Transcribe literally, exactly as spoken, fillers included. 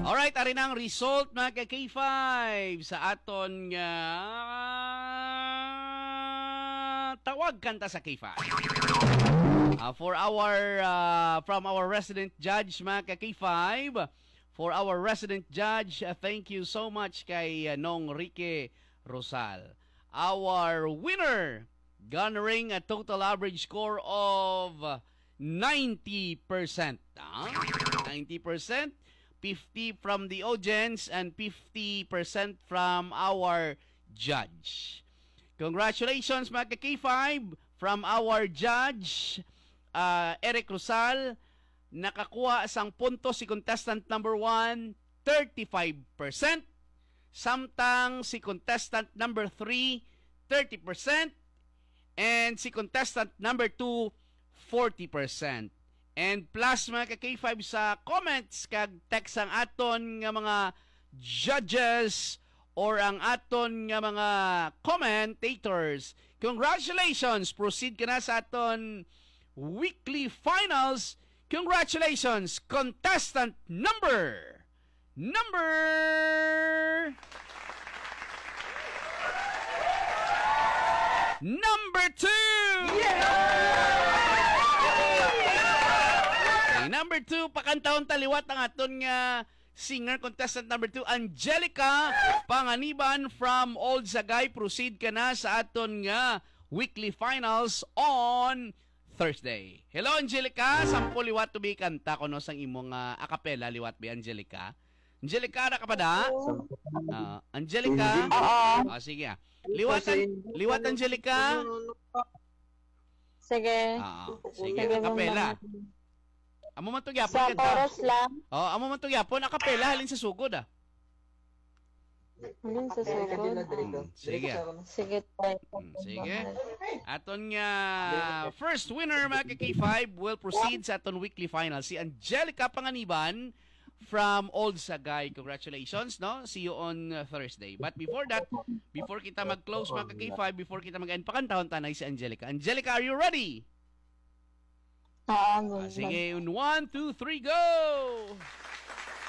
Alright, ari na ang result, mga ka K five, sa aton nga Tawag Kanta sa K five. Ah, for our, ah, from our resident judge, mga ka K five, for our resident judge, ah, thank you so much kay, ah, Nong Ricky Rosal. Our winner, garnering a total average score of ninety percent. Ah, ninety percent, fifty from the audience and fifty percent from our judge. Congratulations, mga ka K five, from our judge, ah, Eric Rosal. Nakakuha sang puntos si contestant number one, thirty-five percent. Samtang si contestant number three, thirty percent. And si contestant number two, forty percent. And plus, mga ka K five, sa comments kag text ang aton nga mga judges or ang aton nga mga commentators. Congratulations! Proceed ka na sa aton weekly finals. Congratulations, contestant number, number, number two! Okay, number two, pakantahon ta liwat ang aton nga singer, contestant number two, Angelica Panganiban from Old Sagay. Proceed ka na sa aton nga weekly finals on Thursday. Hello, Angelica. Sampo liwat to be kanta ko, no, sang imo nga a cappella liwat, be, Angelica. Angelica, ara ka pa da? Ah, Angelica? Oo. Ah, sige, ah. Liwatan, liwat, Angelica. Sige. Ah, sige, sige, a cappella. Amo man to gyapon, sa kanta. Chorus lang. Oh, amo man to gyapon, a cappella, halin sa sugod, ah. Halin sa sugod. Mm, sige. Sige, try. Mm, sige. Aton nga first winner, mga ka K five, will proceed sa aton weekly final. Si Angelica Panganiban from Old Sagay. Congratulations, no? See you on, uh, Thursday. But before that, before kita mag-close, mga ka K five, before kita mag-end, pakantahon ta na si Angelica. Angelica, are you ready? Ah, sige. In one, two, three, go!